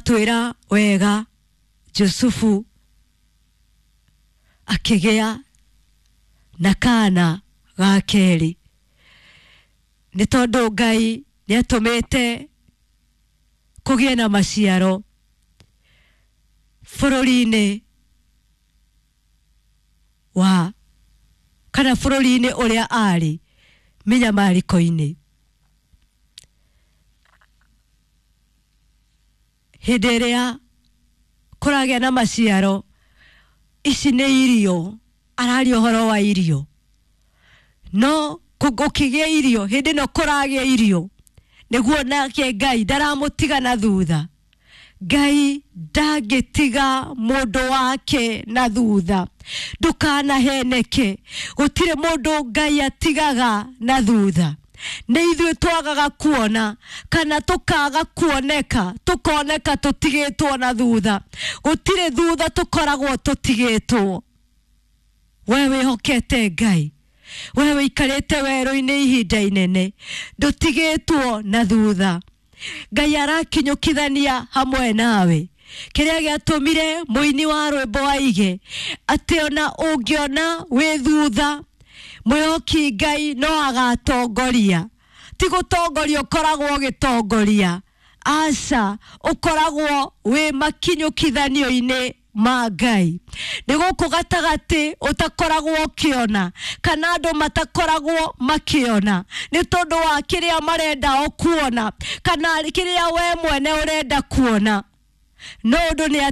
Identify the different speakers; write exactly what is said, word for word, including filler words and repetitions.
Speaker 1: Ĩgatwĩra wega Jusufu akĩgĩa na kana ga kerĩ, nĩ tondũ Ngai nĩ atũmĩte kũgĩe na maciaro bũrũri-inĩ wa kana bũrũri-inĩ ũrĩa arĩ mĩnyamarĩko-inĩ. Hĩndĩ ĩrĩa kũragĩa na maciaro, ici nĩ irio, araria ũhoro wa irio, no gũkĩgĩa irio hĩndĩ ĩno kũragĩa irio nĩguo nake Ngai ndaramũtiga na thutha. Ngai ndangĩtiga mũndũ wake na thutha. Ndũkanaheneke, gũtirĩ mũndũ Ngai atigaga na thutha. Nĩ ithuĩ twagaga kuona kana tũkaga kuoneka, tũkoneka tũtigĩtwo na thutha. Gũtirĩ thutha tũkoragwo tũtigĩtwo. We wĩhokete Ngai, we wĩikarĩte werũ-inĩ ihinda inene, ndũtigĩtwo na thutha. Ngai arakinyũkithania hamwe nawe. Kĩrĩa gĩatũmire mũini wa rwĩmbo aige atĩ ona ũngĩona wĩ thutha, mwĩhoki Ngai no agatongoria. Ti gũtongoria ũkoragwo ũgĩtongoria, aca, ũkoragwo wĩ makinyũkithanio-inĩ ma Ngai. Nĩ gũkũ gatagatĩ ũtakoragwo ũkĩona kana andũ matakoragwo makĩona nĩ tondũ wa kĩrĩa marenda o kuona kana kĩrĩa we mwene ũrenda kuona. No ũndũ nĩ